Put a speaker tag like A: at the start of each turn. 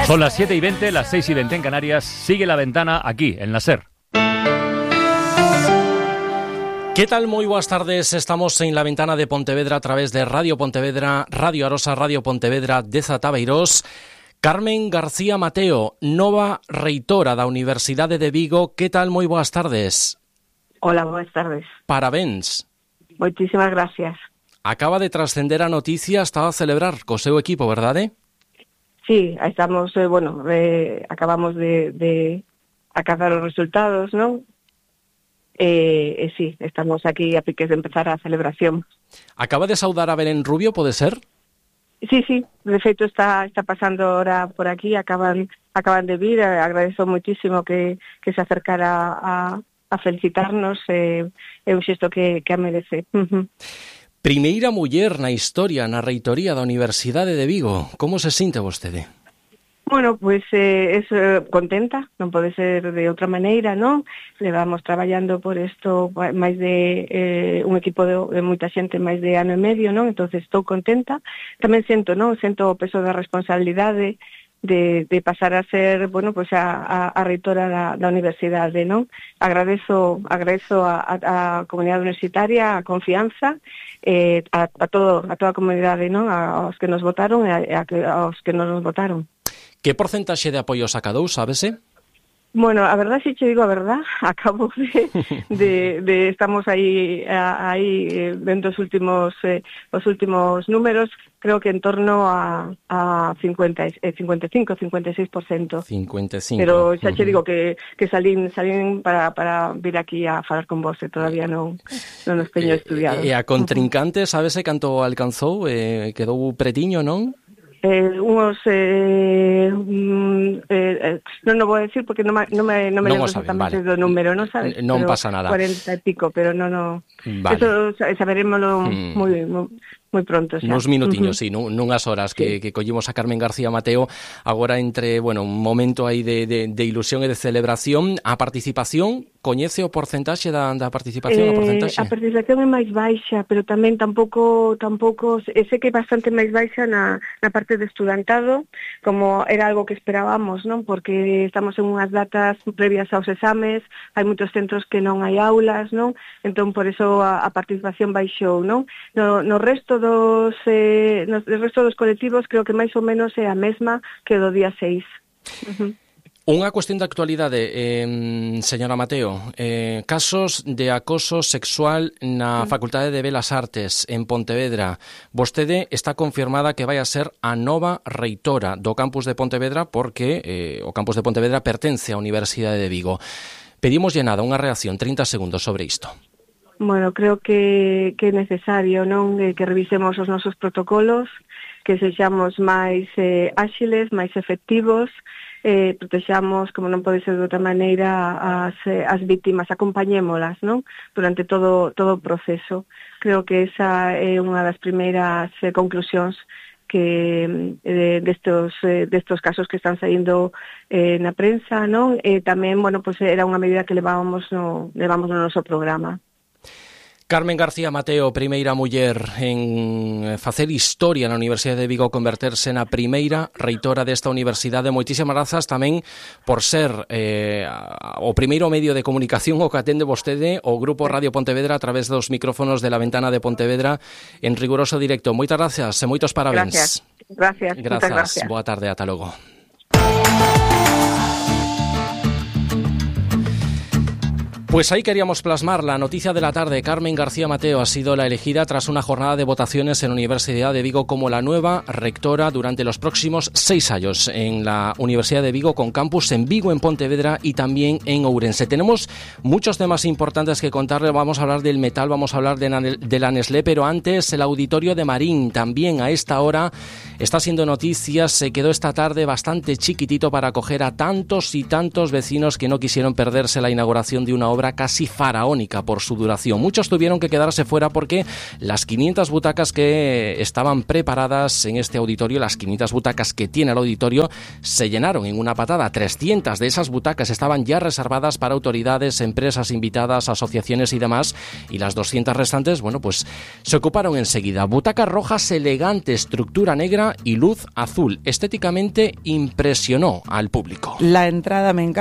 A: Son las 7:20, las 6:20 en Canarias. Sigue La Ventana aquí, en la SER.
B: ¿Qué tal? Moi boas tardes. Estamos en La Ventana de Pontevedra a través de Radio Pontevedra, Radio Arosa, Radio Pontevedra de Zatabeirós. Carmen García Mateo, nova reitora da Universidade de Vigo. Que tal? Moi boas tardes.
C: Hola, boas tardes.
B: Parabéns.
C: Moitísimas gracias.
B: Acaba de trascender a noticia, estaba a celebrar co seu equipo, verdade?
C: Sí, estamos, acabamos de acabar os resultados, non? Sí, estamos aquí a piques de empezar a celebración.
B: Acaba de saudar a Belén Rubio, pode ser?
C: Sí, de feito está pasando ahora por aquí, acaban de vir, agradezo moitísimo que se acercara a felicitarnos, é un xesto que a merece.
B: Primeira muller na historia na reitoría da Universidade de Vigo. Como se sinte vostede?
C: Bueno, pues contenta, non pode ser de outra maneira, non? Levamos traballando por isto máis de un equipo de moita xente, máis de ano e medio, non? Entonces estou contenta. Tamén sento o peso da responsabilidade de pasar a ser, bueno, pues a reitora da universidade, non? Agradezo a comunidade universitaria a confianza, a toda a comunidade, non? Aos que nos votaron e aos que non nos votaron.
B: Que porcentaxe de apoio sacadou, sábese?
C: Bueno, a verdad, si che digo a verdad, acabo de estamos aí vendo os últimos números, creo que en torno a 55-56%.
B: 55.
C: Pero xa che digo que salín para vir aquí a falar con vos, e todavía non nos teño estudiado.
B: E a contrincante, sábese canto alcanzou? Quedou pretiño, non?
C: Non vou decir porque non me lembro exactamente do número, non sabes?
B: Non pasa nada.
C: 40 e pico, pero non.
B: Vale.
C: Eso saberémoslo moi pronto xa.
B: Nos minutiños, sí, nunhas horas que collimos a Carmen García Mateo agora entre, bueno, un momento aí de ilusión e de celebración. A participación, coñece o porcentaxe da participación?
C: A participación é máis baixa, pero tamén tampouco sei que é bastante máis baixa na parte de estudantado, como era algo que esperábamos, non? Porque estamos en unhas datas previas aos exames, hai moitos centros que non hai aulas, non? Entón, por eso a participación baixou, non? No resto dos colectivos creo que máis ou menos é a mesma que do día 6.
B: Unha cuestión de actualidade, señora Mateo, casos de acoso sexual na Facultade de Belas Artes en Pontevedra. Vostede está confirmada que vai a ser a nova reitora do campus de Pontevedra porque o campus de Pontevedra pertence á Universidade de Vigo. Pedimoslle nada, unha reacción, 30 segundos sobre isto.
C: Bueno, creo que é necesario, non, que revisemos os nosos protocolos, que sexamos máis áxiles, máis efectivos, protexamos, como non pode ser de outra maneira, as vítimas, acompañémolas, non? Durante todo o proceso. Creo que esa é unha das primeiras conclusións que destos casos que están saindo na prensa, non? Tamén, bueno, pues era unha medida que levamos no noso programa.
B: Carmen García Mateo, primeira muller en facer historia na Universidade de Vigo, converterse na primeira reitora desta universidade. Moitísimas grazas tamén por ser o primeiro medio de comunicación o que atende vostede o Grupo Radio Pontevedra a través dos micrófonos de La Ventana de Pontevedra en riguroso directo. Moitas gracias e moitos parabéns.
C: Gracias.
B: Boa tarde, ata logo. Pues ahí queríamos plasmar la noticia de la tarde. Carmen García Mateo ha sido la elegida tras una jornada de votaciones en la Universidad de Vigo como la nueva rectora durante los próximos 6 años en la Universidad de Vigo, con campus en Vigo, en Pontevedra y también en Ourense. Tenemos muchos temas importantes que contarle. Vamos a hablar del metal, vamos a hablar de la Nestlé, pero antes el auditorio de Marín también a esta hora está siendo noticias. Se quedó esta tarde bastante chiquitito para acoger a tantos y tantos vecinos que no quisieron perderse la inauguración de una obra obra casi faraónica por su duración. Muchos tuvieron que quedarse fuera porque las 500 butacas que estaban preparadas en este auditorio, las 500 butacas que tiene el auditorio, se llenaron en una patada. 300 de esas butacas estaban ya reservadas para autoridades, empresas invitadas, asociaciones y demás, y las 200 restantes, bueno, pues se ocuparon enseguida. Butacas rojas, elegante estructura negra y luz azul. Estéticamente impresionó al público.
D: La entrada me encanta.